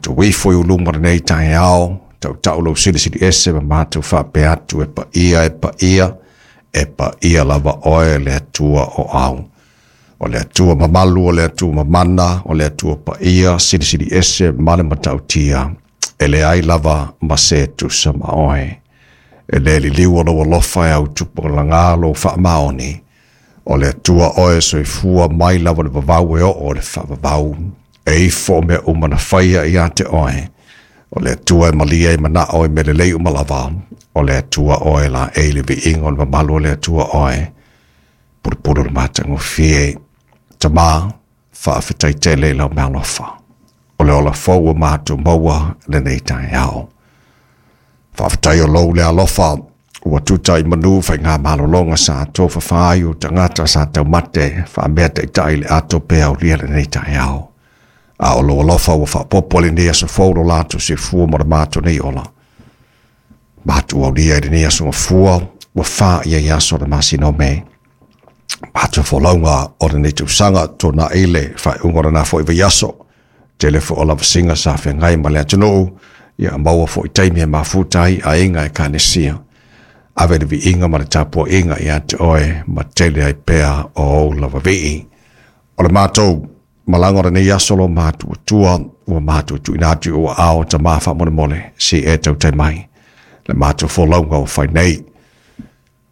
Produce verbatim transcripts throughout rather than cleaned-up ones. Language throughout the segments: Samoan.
Matou ifo i uluma lenei taeao, tautau lou silisili ese ma matou faapea atu e paia e paia, e paia lava oe le Atua o au. O le Atua mamalu, o le Atua mamana, o le Atua paia, silisili ese ma le matautia, e leai lava ma se tusa ma oe. E le liliu o lou alofa e au tupulaga lou faamaoni, o le Atua oe soifua mai lava le vavau e oo le faavavau, e ifo o mea uma na faia ia te oe. O le Atua e malia i manao e melelei uma lava, o le Atua oe la e le viiga o le mamalu o le Atua oe, pulupulu le matagofie, Tama, faafetai tele i lau meaalofa. O le ola fou ua matou maua lenei taeao. Faafetai o lou le alofa, ua tuta i manu faigamalologa sa tofafa ai o tagata sa taumate faamea taitai le ato pe aulia lenei taeao. A o lou alofa ua faaopoopo lenei aso fou lo latou soifua ma le matou nei ola. Matou aulia i lenei aso gafua, ua fa ia i aso o le masina o Me. Matou folauga o lenei tausaga tuanai le faaiuga o lena foi vaiaso. Tele foi o lavasiga sa feagai ma le atunuu, ia maua foi taimi e mafuta ai aiga ekalesia. Ave le viiga ma le tapuaiga ia te oe ma tele ai pea o ou lava vii. O le matou malaga o lenei aso lo matou atua, ua matou tuuina atu i ou aao Tama faamolemole, se i e tautai mai. Le matou folauga ua fai nei.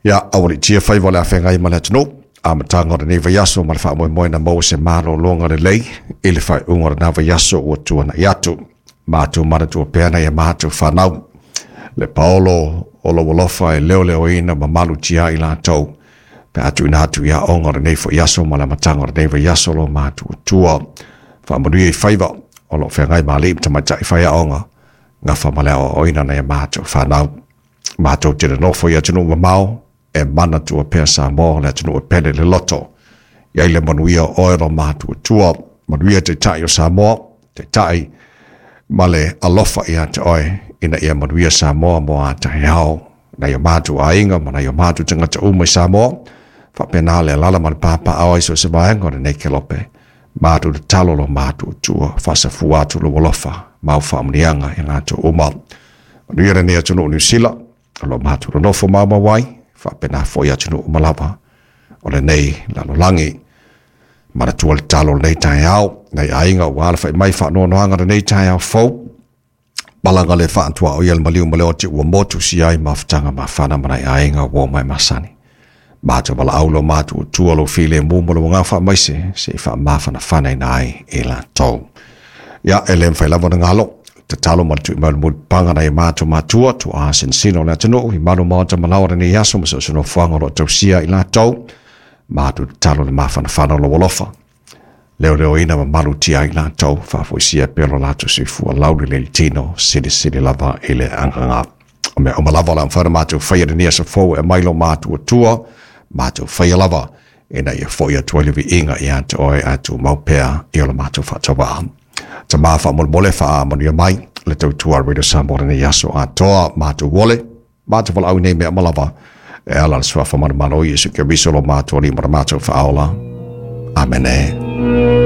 Ia, aualiitia faiva o le afeagai ma le atunuu, amataga o lenei vaiaso ma le faamoemoe na maua se malologa lelei i le faaiuga o lena vaiaso ua tuanai atu. Matou manatua pea nai a matou fanau. Le paolo o lou alofa e leoleoina ma malutia i latou. Pe a tuuina atu i aoga o lenei foi aso ma le amataga o lenei vaiaso lo matou atua. Faamanuia i faiva o lo o feagai ma alii ma tamaitai faiaoga, gafa ma le aoaoina nai a matou fanau. Matou te nonofo i atunuu mamao, e manatua pea Samoa le atunuu e pele le loto. I ai le manuia o oe lo matou atua, manuia taitai o Samoa, taitai ma le alofa ia te oe, ina ia manuia Samoa mo a taeao, nai o matou aiga ma nai o matou tagata uma i Samoa, faapena le alaala ma le papaaao ai so o se vaega o lenei kelope. Matou tatalo lo matou atua, faasafua atu lou alofa ma au faamanuiaga i latou uma. Manuia lenei atunuu o Niu Sila, o lo matou nonofo maumau ai, faapena foi atunuu uma lava o lenei lalolagi. Manatua le tatalo o lenei taeao, nai aiga ua alafai mai faanoanoaga lenei taeao fou, malaga le faatuaoia le maliu ma le oti ua motu si ai mafutaga mafana ma nai aiga ua mai masani. Matou valaau lo matou atua lou filemu ma lou agaga faamaise se i faamafanafanaina ai i latou. Ia, e le mafai lava ona galo, tatalo ma le tui mai o le mulipapaga nai a matou matua, tuaa sinosino o le atunuu, i malu maota malaoa lenei aso ma so o se nofoaga o lo o tausia i latou. Matou tatalo le mafanafana o lou alofa. Leoleoina ma malutia ai latou, faafoisia pea lo latou soifua lauli le tino, silisili lava i le agaga. O mea uma lava o le a mafai ona matou faia lenei aso fou e aumai lo matou atua, matou faia lava, ina ia foi atu ai le viiga ia te oe ae tumau pea i o le matou faatauvaa. Tama faamolemole faamanuia mai le tautua a Radio Samoa lenei aso atoa, matou ole, matou valaau nei mea uma lava, e ala le suafa manumalo o Iesu Keriso lo matou Alii ma le matou faaola. Amene.